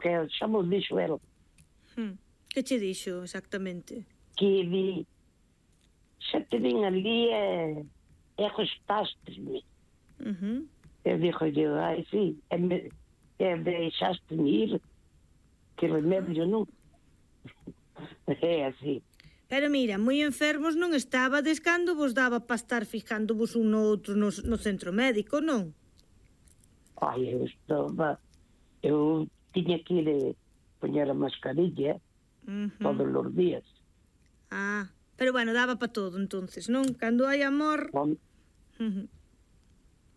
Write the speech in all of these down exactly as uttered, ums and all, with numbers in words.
porque xa mo dixo el. Hmm. Que che dixo exactamente? Que di, xa te vin ali e, e gostaste-me. Uh-huh. Eu dixo, eu, ai, sí, e, me, e deixaste-me ir, que remedio non. É así. Pero mira, moi enfermos non estabades cando vos daba para estar fijando-vos un no outro no, no centro médico, non? Ai, eu estaba, eu tiña que ir a poñer a mascarilla Uh-huh. todos os días. Ah, pero bueno, daba para todo entonces, non? Cando hai amor... Home, Uh-huh.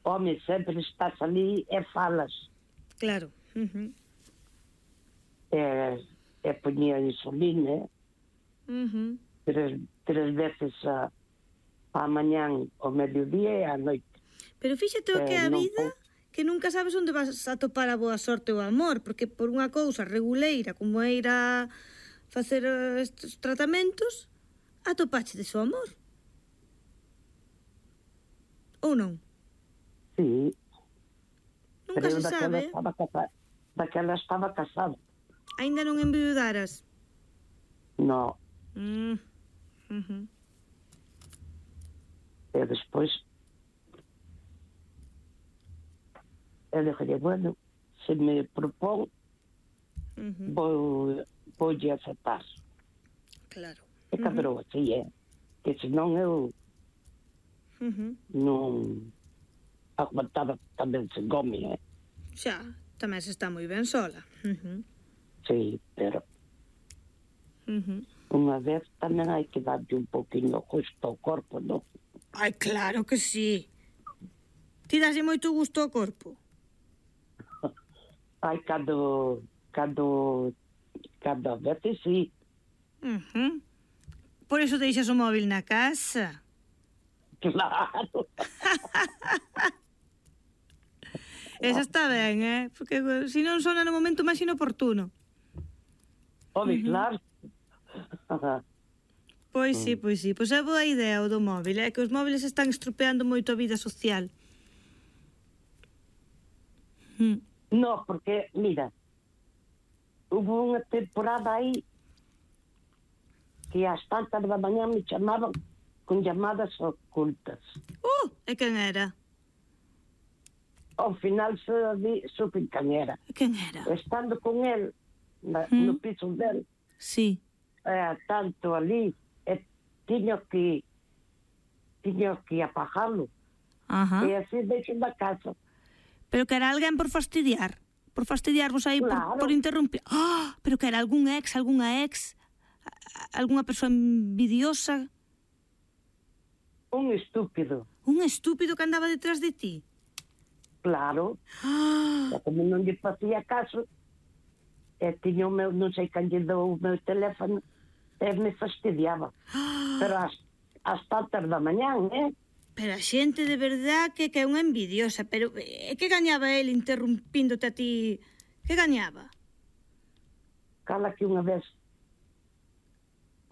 home, sempre estás ali e falas. Claro. Uh-huh. E, e poñía insulina, Uh-huh. tres, tres veces a, a mañán, ao mediodía e á noite. Pero fíxate o que é a Eh, non vida, que nunca sabes onde vas a topar a boa sorte ou amor, porque por unha cousa reguleira como é ir a facer eh, estes tratamentos, atopache de seu amor. Ou non? Sí, Nunca pero se daquela sabe. estaba casada. Daquela estaba casada. Ainda non enviudaras. No, Mm. Uh-huh. e despois eu dije, bueno, se me propón, Uh-huh. vou, voulle aceptar. Claro. E cabrou así, é. Que senón eu Uh-huh. non aguantaba tamén sen gome, é. Xa, tamén se está moi ben sola. Uh-huh. Sí, pero Uh-huh. unha vez tamén hai que darlle un poquinho gusto ao corpo, non? Ai, claro que sí. Ti daslle moito gusto ao corpo? Ai, cando, cando, cando a veces sí. Uh-huh. Por iso deixas o móvil na casa. Claro. Esa está ben, eh? Porque se non sona no momento máis inoportuno. Home, Ujú. claro. Pois sí, pois sí. Pois é boa idea o do móvil, é que os móviles están estropeando moito a vida social. Mm. No, porque, mira, hubo unha temporada aí que ás tantas da mañá me chamaban con llamadas ocultas. Uh, e quen era? Ao final se di, supe quen era. E quen era? Estando con el na, Mm. no piso del, Sí. eh, tanto ali, e tiño que tiño que apagalo. Ajá. E así deixo na casa. Pero que era alguén por fastidiar. Por fastidiarvos aí, Claro. por, por interrumpir. Ah, pero que era algún ex, algunha ex, a- algunha persoa envidiosa, Un estúpido, un estúpido que andaba detrás de ti. claro. Ah, E como non lle facía caso, e tiña o meu, non sei quen lle dou o meu teléfono, e me fastidiaba. Pero as, as tantas da mañán, eh? pero a xente de verdad que, que é unha envidiosa. Pero e que gañaba el interrumpíndote a ti? Que gañaba? Cala que unha vez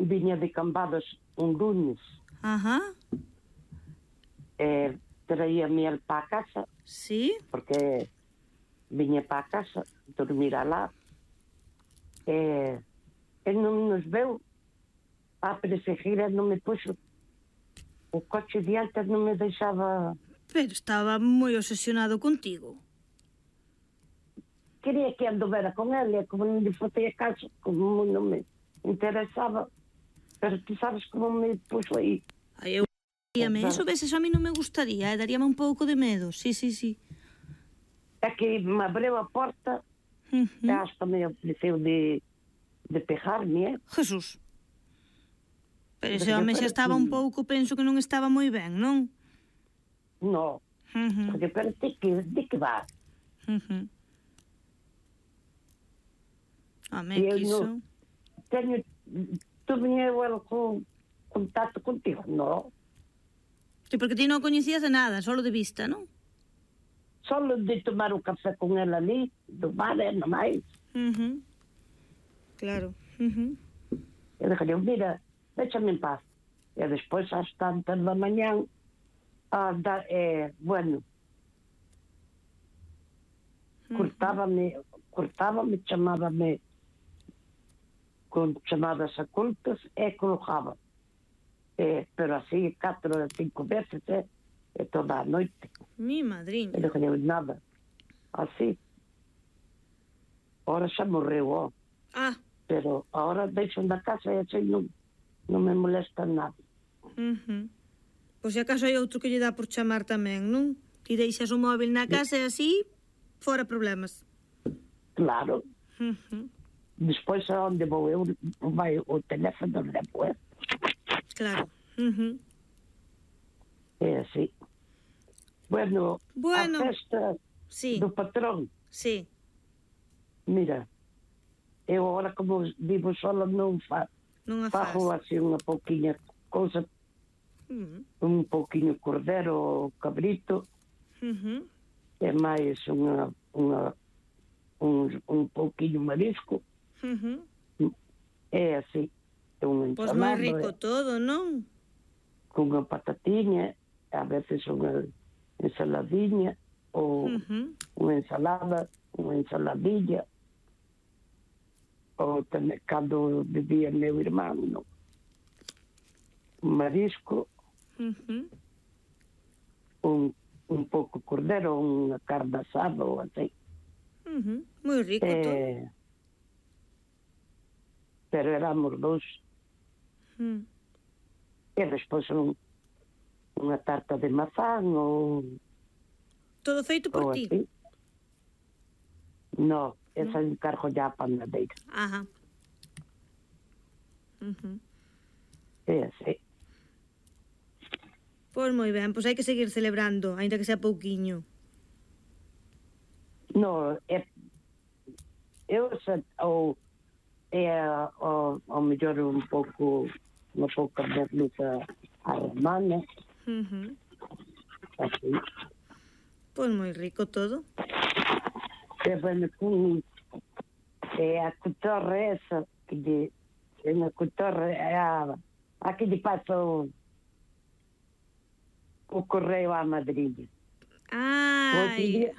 viña de Cambados un lunes, Ajá, e traía miel para a casa, sí. porque viña para a casa, dormir alá, e, e non nos veu a perseguir, e non me puxo o coche diante, non me deixaba. Pero estaba moi obsesionado contigo. Quería que anduvera con ele, e como non lle facía caso, como non me interesaba, pero ti sabes como me puxo aí. Ai, eu daríame, eso veces a mí non me gustaría, eh? Daríame un pouco de medo, sí, sí, sí. É que me abriu a porta, Uh e hasta me ofreceu de, de pegarme, eh? Jesús. Pero ese Pero home xa pero estaba que- un pouco, penso que non estaba moi ben, non? No, Uh -huh. porque pero ti que, de que vas? Uh -huh. Home, E eu quiso... non teño, tu viñeu el con contacto contigo, no? Sí, porque ti non coñecías de nada, solo de vista, non? Solo de tomar o café con el ali, do bar, e non máis. Uh -huh. Claro. Uh -huh. E dixo, mira, déchame en paz. E despois, ás tantas da mañán, a da, eh, bueno, Uh -huh. cortábame, cortábame, chamábame con chamadas ocultas e colocaba. Eh, pero así, catro ou cinco veces, eh, e toda a noite. Mi madriña. E non deu nada. Así. Ahora xa morreu, ó. Ah. Pero ahora deixo na casa e así non, non me molesta nada. Uh-huh. Pois se acaso hai outro que lle dá por chamar tamén, non? Ti deixas o móvil na casa e así, fora problemas. Claro. Uh-huh. Despois a onde vou eu, vai o teléfono de depois. Claro. Uh-huh. É así. Bueno, bueno, a festa sí. do patrón. Sí. Mira, eu agora como vivo sola non fa, non a fago faz. así unha pouquiña cousa, uh-huh. un pouquiño cordero, cabrito, uh-huh. e máis unha, unha, un, un pouquiño marisco. Uh-huh. É así. Un pois moi rico todo, non? Con unha patatiña, a veces unha ensaladiña, ou uh-huh. unha ensalada, unha ensaladilla, ou tamén cando vivía meu irmán, non? Un marisco, uh-huh. un, un pouco cordero, unha carne asada ou así. Uh-huh. Moi rico eh, todo. Pero éramos dous. Uh-huh. E despois un, unha tarta de mazán ou... Todo feito por ti? Así. No, esa ¿no? encargo ya a panadeira. Ajá. Uh-huh. É así. Pois moi ben, pois hai que seguir celebrando, ainda que sea pouquiño. No, é... Eu sei, ou... É ao, ao mellor un pouco... Unha pouca merluza a romana. Uh-huh. Así. Pois moi rico todo. E bueno, con... É a cotorra esa, que de... É unha cotorra, é a... A que lle pasa o... O correo á madriña. Ai...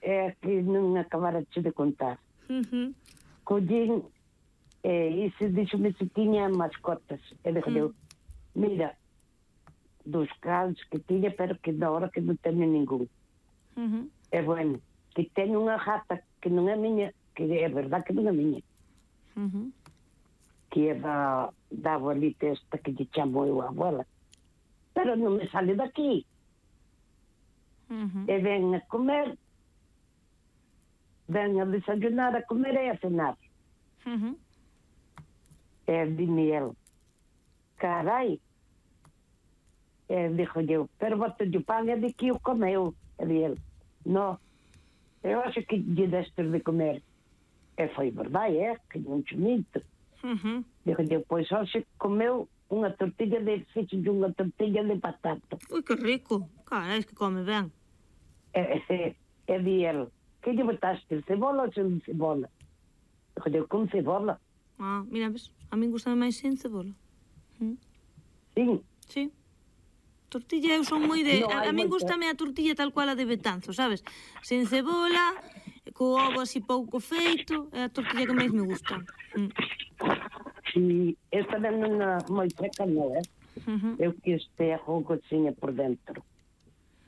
É que non acabara de contar. Uh-huh. Collín, e iso dixome se tiña mascotas. E dixo, uh-huh. Mira, dos cans que tiña, pero que na hora que non teño ningún. Uh-huh. E bueno, que teño unha gata que non é miña, que é verdad que non é miña. Uh-huh. Que é da, da abuelita esta que lle chamo eu a abuela. Pero non me sale daqui. Uh-huh. E ven a comer, ven a desayunar, a comer e a cenar. Uh-huh. E dime el, carai. E dixo eu, pero bote o pan e de que o comeu. E di el, no, eu acho que lle destes de comer. E foi verdade, é, que non chumito. Uh-huh. Dixo eu, pois hoxe comeu unha tortilla de fixe de unha tortilla de patata. Ui, que rico. Carai, que come ben. E, e, e di el, que lle botaste, cebola ou sen cebola? Dixo eu, con cebola. Ah, mira, ves, a mí gusta máis sen cebola. ¿Mm? Sí. Sí. Tortilla eu son moi de... No, a, a mí gustame a tortilla tal cual a de Betanzo, sabes? Sen cebola, co ovo así pouco feito, é a tortilla que máis me gusta. Mm. E esta tamén non é moi seca, non é? Uh-huh. Eu que este con cocinha por dentro.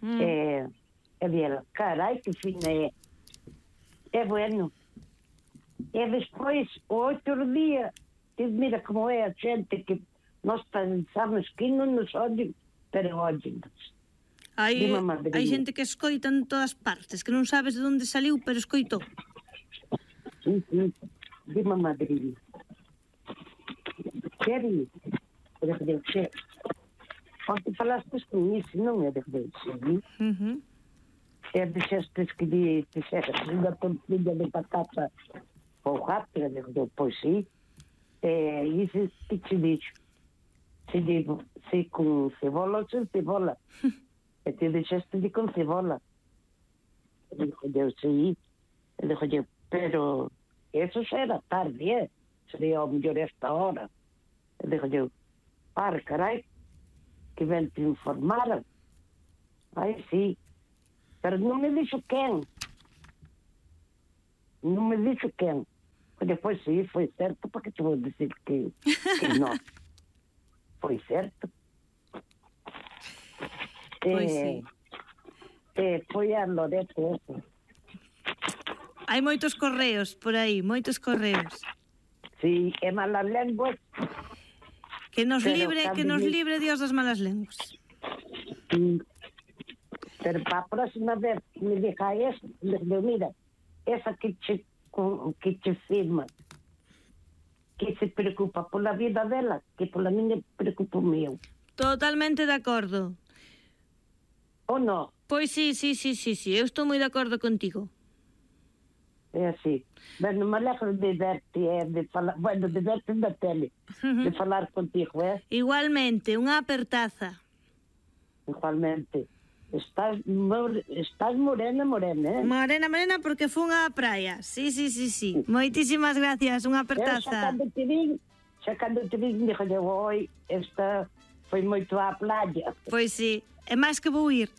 Mm. E, e dela, carai, que fina é. É bueno. E despois, o outro día, que mira como é a xente que nós pensamos que non nos odien, pero odien-nos. Hai, hai xente que escoita en todas partes, que non sabes de onde saliu, pero escoitou. Sí, sí, dime madriña. Que di? Eu dixo, que? Onde falastes con iso, non é? Dixo, sí. Uh-huh. E dixestes que di, dixestes unha tortilla de patata ou gato, e dixo, pois sí. E iso que te dixo? Se digo, se con cebola ou sen cebola. E te dixeste de con cebola. E dixo, eu, sí. E dixo, eu, pero eso xa era tarde, eh? Sería ao mellor esta hora. E dixo eu, par, carai, que ben te informaran. Ai, sí. Pero non me dixo quen. non me dixo quen. Depois sí, foi certo, porque te vou dicir que, que non. Foi certo. Pois eh, sí. eh, foi a Loreto eso. Hai moitos correos por aí, moitos correos. Sí, é malas lenguas. Que nos Pero libre, que cando nos me- libre Dios das malas lenguas. Sí. Pero para a próxima vez que me diga eso, le digo, mira, esa que che, que che firma, que se preocupa pola vida dela, que pola miña preocupo meu. Totalmente de acordo. Ou non? Pois sí, sí, sí, sí, sí, eu estou moi de acordo contigo. É así. Bueno, me alegro de verte, eh, de falar, bueno, de verte na tele, de falar contigo, eh? Igualmente, unha apertaza. Igualmente. Estás, mor- estás morena, morena, eh? Morena, morena, porque fun á praia. Sí, sí, sí, sí. Moitísimas gracias, unha Eu xa apertaza. cando te vin, xa cando te vin, dixo, oi, esta foi moito á playa. Pois sí, é máis que vou ir.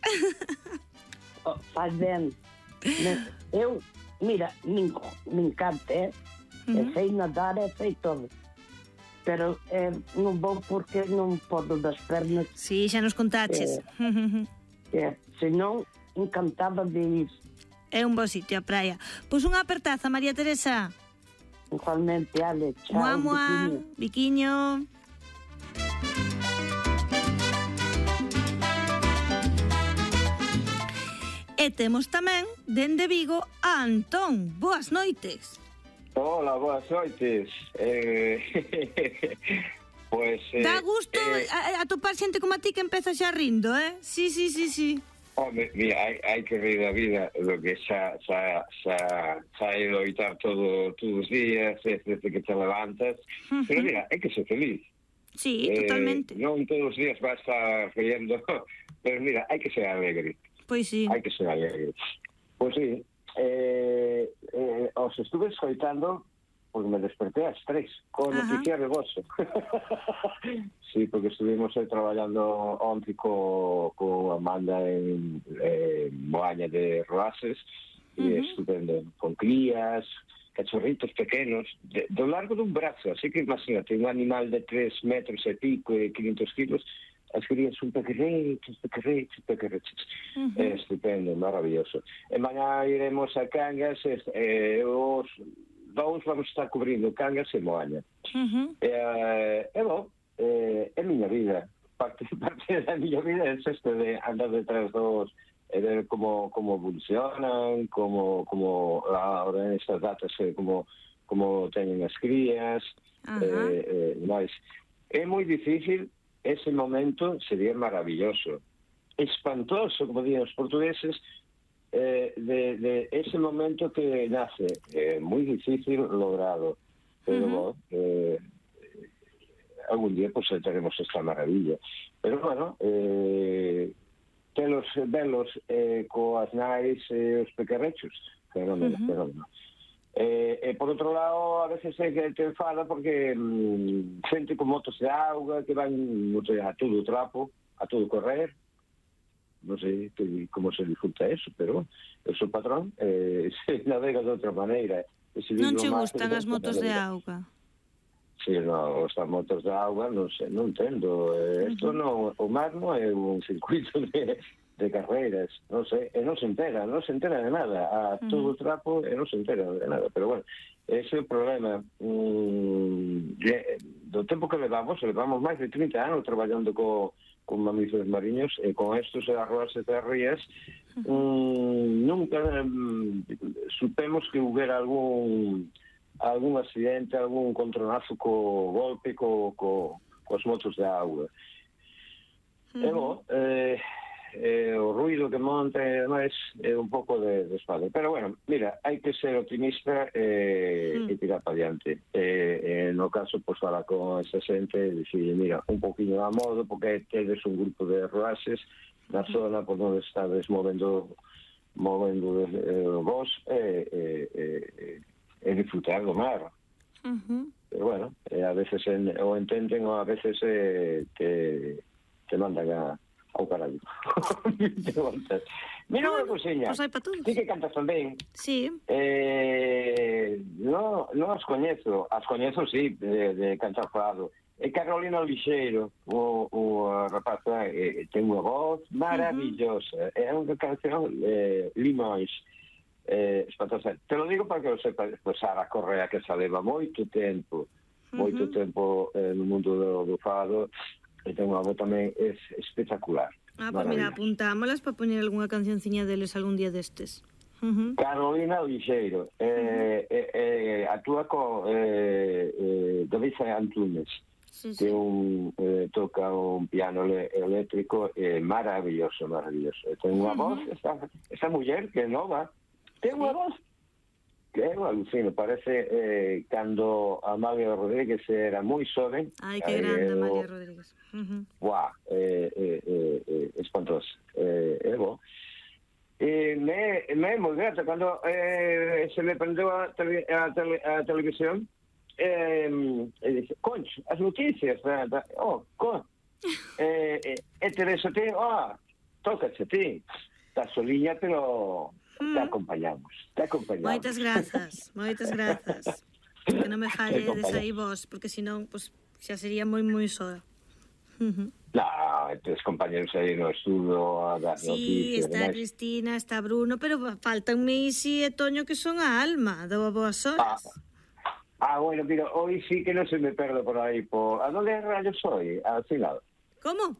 Oh, faz ben. Me- Eu, mira, me, me encanta, eh? Ujú. E sei nadar, e sei todo. Pero eh, non vou porque non podo das pernas. Sí, xa nos contaches. Eh, senón, encantada de ir. É un bo sitio a praia. Pois unha apertaza, María Teresa. Igualmente, Ale, chao. Mua, mua, biquiño. biquiño. E temos tamén, dende Vigo, a Antón. Boas noites. Hola, boas noites. Eh, pues, eh, Dá gusto eh, a, a topar xente como a ti que empeza xa rindo, eh? Sí, sí, sí, sí. Home, mira, hai, hai que reír da vida, lo que xa, xa, xa, xa hai loitar todo, todos os días, desde que te levantas. Uh-huh. Pero mira, hai que ser feliz. Sí, Eh, totalmente. non todos os días vas a estar riendo, pero mira, hai que ser alegre. Pois sí. Hai que ser alegre. Pois sí, eh, eh, os estuve escoitando porque me desperté ás tres con Ajá. noticia de vosso. Sí, porque estuvimos aí traballando onte co, co Amanda en eh, Moaña de Roases, e Ujú. estupendo, con crías, cachorritos pequenos, de, do largo dun brazo, así que imagínate, un animal de tres metros e pico e quinientos kilos, as crías son pequerreches, pequerreches, pequerreches. Ujú. É estupendo, maravilloso. E mañá iremos a Cangas, e eh, os dous vamos estar cubrindo Cangas e Moaña. Uh-huh. E, é bom, é, é miña vida. Parte, parte da miña vida é isto de andar detrás dos e ver como, como evolucionan, como, como ahora en estas datas, eh, como, como teñen as crías, Ajá. eh, eh, máis. É moi difícil, ese momento sería maravilloso, espantoso, como digan os portugueses, eh, de, de ese momento que nace, eh, moi difícil logrado, pero Ujú. bueno, eh, algún día pues teremos esta maravilla. Pero bueno, eh, telos velos eh, coas nais e eh, os pequerrechos, fenómeno, Ujú. fenómeno. Eh, e por outro lado, a veces é que te enfada porque mm, xente con motos de auga que van a todo trapo, a todo correr. Non sei que, como se disfruta eso, pero bueno, eu sou patrón, eh, se navega de outra maneira. Non che gustan as motos de auga? Sí, no, as motos de auga non sei, non entendo. Eh, isto non, o mar non é un circuito de, de carreiras, non sei, e non se entera, non se entera de nada, a todo o trapo e non se entera de nada, pero bueno, ese é o problema. Mm, de, do tempo que levamos, levamos máis de trinta anos traballando co con mamíferos mariños e con estos arroas e rías, mm, nunca mm, supemos que hubiera algún algún accidente, algún contronazo co golpe co, co, coas motos de auga. Uh-huh. E bo, eh, eh, o ruido que monta e máis é un pouco de, de espalda. Pero bueno, mira, hai que ser optimista e, uh-huh. e tirar para diante. E, e no caso, pois, fala con esa xente e dicir, mira, un poquinho a modo, porque tedes un grupo de roases na uh-huh. zona por onde estades movendo movendo eh, vos e, e, e, e disfrutar do mar. Uh-huh. Pero bueno, eh, a veces en, o entenden ou a veces eh, te, te mandan a ao carallo. Mira unha cousiña. Pois hai para todos. Ti que cantas tamén. Sí. Eh, no, non as coñezo. As coñezo, sí, de, de cantar fado. E Carolina Lixeiro, o, o rapaza, eh, ten unha voz maravillosa. Uh-huh. É unha canción, eh, Limões, eh, espantosa. Te lo digo para que lo sepa, pues Sara Correa, que xa leva moito tempo, uh-huh. moito tempo eh, no mundo do, do fado, e ten unha voz tamén es espectacular. Ah, pues mira, apuntámolas para poñer algunha cancionciña deles algún día destes. Uh-huh. Carolina Lixeiro, eh, uh-huh. eh, eh, actúa co eh, eh, David Antunes. Sí, sí. Que un, eh, toca un piano le, eléctrico eh, maravilloso, maravilloso. Ten unha uh-huh. voz, esa, esa muller que é nova, ten unha sí. voz que é un alucino, parece eh, cando Amalia Rodríguez era moi xoven. Ai, que grande, eh, Amalia Rodríguez. Uh-huh. Guau, eh, eh, eh, eh, espantoso. Eh, é bo. E me, me é moi grata, cando eh, se me prendeu a, tele, a, tele, a televisión, Eh, e dice, concho, as noticias da, da, oh, con eh, eh, e Teresa ti, oh, tócache ti da soliña, pero mm. te acompañamos te acompañamos moitas grazas, moitas grazas que non me falledes aí vos, porque senón pues, xa sería moi moi soa. Uh-huh. No, tes compañeros aí no estudo a dar sí, noticias. Sí, está Cristina, está Bruno, pero faltanme Isi e Toño, que son a alma do Boas Horas. Ah. Ah, bueno, mira, hoy sí que no se me perde por ahí. Por... ¿A dónde rayos soy? Al final. ¿Cómo?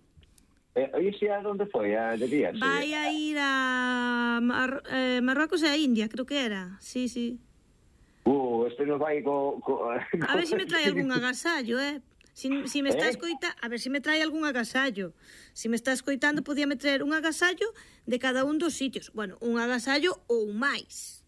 Eh, ¿Hoy sí a dónde fue? ¿A de día? Vai sí. a ir a Mar eh, Marruecos e a India, creo que era. Sí, sí. Uh, este no vai co... co... A ver si me trae algún agasallo, eh? Si, si me está ¿Eh? escoita... A ver si me trae algún agasallo. Si me está escoitando, podíame traer un agasallo de cada un dos sitios. Bueno, un agasallo ou máis.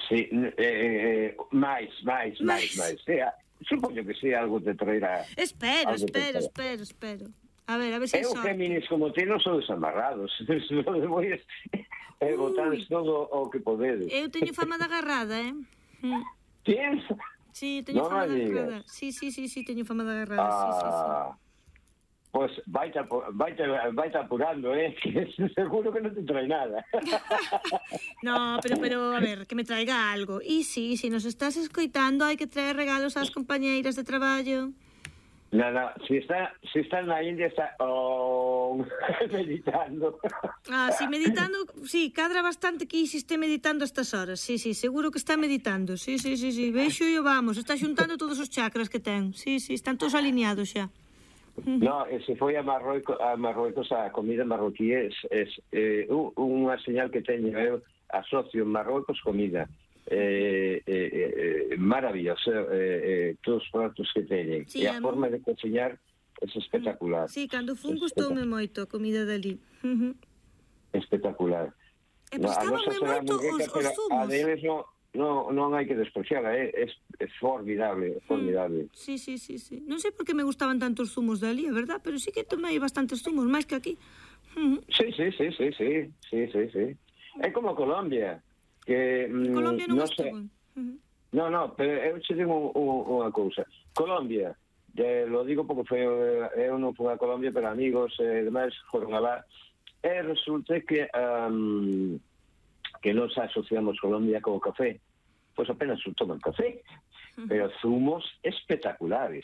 Sí, eh, eh, máis, máis, máis, máis. Sí, supoño que sí, algo te traerá. Espero, espero, espero, espero. A ver, a ver se eu féminis como ti non son desamarrados. E botades todo o que podedes. Eu teño fama de agarrada, eh? Tienes? Sí, teño no fama de agarrada. Sí, sí, sí, sí, teño fama de agarrada, ah. sí, sí, sí. Pois pues vaite, vaite, vaite apurando, eh? Que seguro que non te trae nada. No, pero, pero, a ver, que me traiga algo. E sí, se nos estás escoitando, hai que traer regalos ás compañeiras de traballo. No, no, si está, si está na India, está oh, meditando. Ah, sí, meditando, sí, cadra bastante que Isi esté meditando a estas horas. Sí, sí, seguro que está meditando. Sí, sí, sí, sí, veixo e vamos, está xuntando todos os chakras que ten. Sí, sí, están todos alineados xa. No, se foi a Marruecos, a Marruecos a comida marroquí es, es eh, unha señal que teño eu, asocio Marruecos comida eh, eh, eh, maravillosa, eh, eh, todos os pratos que teñen, sí, e a forma de cociñar é espectacular. Sí, cando fun gustoume moito a comida dali. Uh-huh. Espectacular. E prestabanme moito os, os zumos. A deles non No, non hai que despreciarla, é, é, é formidable, é formidable. Sí, sí, sí, sí. Non sei por que me gustaban tanto os zumos dali, é verdad, pero sí que tomei bastantes zumos, máis que aquí. Uh-huh. Sí, sí, sí, sí, sí, sí, sí, sí. É como Colombia, que... Mm, Colombia non, non sei. Uh-huh. No, no, pero eu che digo unha cousa. Colombia, eh, lo digo porque foi, eu non fui a Colombia, pero amigos e eh, demais foron a lá, e resulta que... Um, que nos asociamos Colombia co café, pois apenas toman café, uh-huh. pero zumos espectaculares,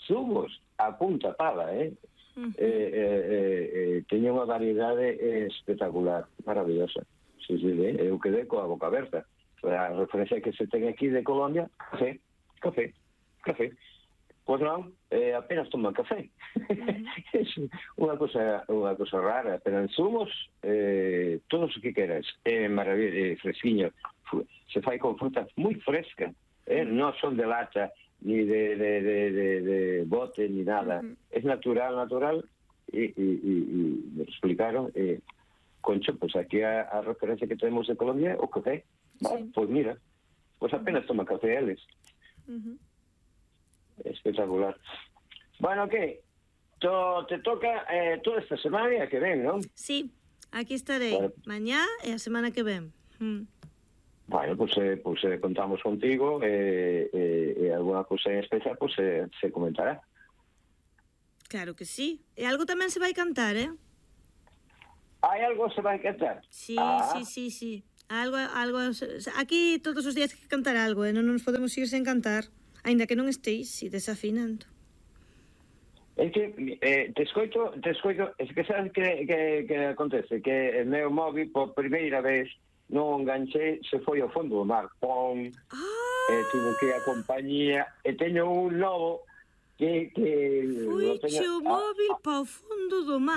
zumos a punta pala, eh? Uh-huh. eh, eh, eh teña unha variedade espectacular, maravillosa. Sí, sí, eh? Eu quedei coa boca aberta. A referencia que se ten aquí de Colombia, café, café, café. Pois non, eh, apenas toman café. Uh-huh. É unha cosa, unha cosa rara, pero en zumos, eh, todo o que queras, é eh, maravilloso, eh, fresquiño, se fai con fruta moi fresca, eh, non son de lata, ni de, de, de, de, de bote, ni nada. Uh-huh. É natural, natural, e, e, e, e me explicaron, eh, concho, pois aquí a, a referencia que temos de Colombia, o café. Sí. Bueno, pois mira, pois apenas toman café eles. Uh-huh. Espectacular. Bueno, que to, te toca eh, toda esta semana que ven, non? Sí, aquí estarei bueno. Mañá e a semana que ven. Mm. Bueno, pues, eh, pues eh, contamos contigo e eh, eh, eh, alguna cosa en especial pues eh, se comentará. Claro que sí. E algo tamén se vai cantar, eh? Hai algo se vai cantar? Sí, Ah. sí, sí, sí. Algo, algo... Aquí todos os días hai que cantar algo, eh? Non nos podemos ir sen cantar. Aínda que non esteis, si, desafinando. É que eh, te escoito, te escoito, es que sabes que, que, que acontece, que o meu móvil por primeira vez non enganché, se foi ao fondo do mar, pom, Ah! eh, tivo que a compañía, e teño un novo que... que Fuiche o móvil ah, para o fondo do mar.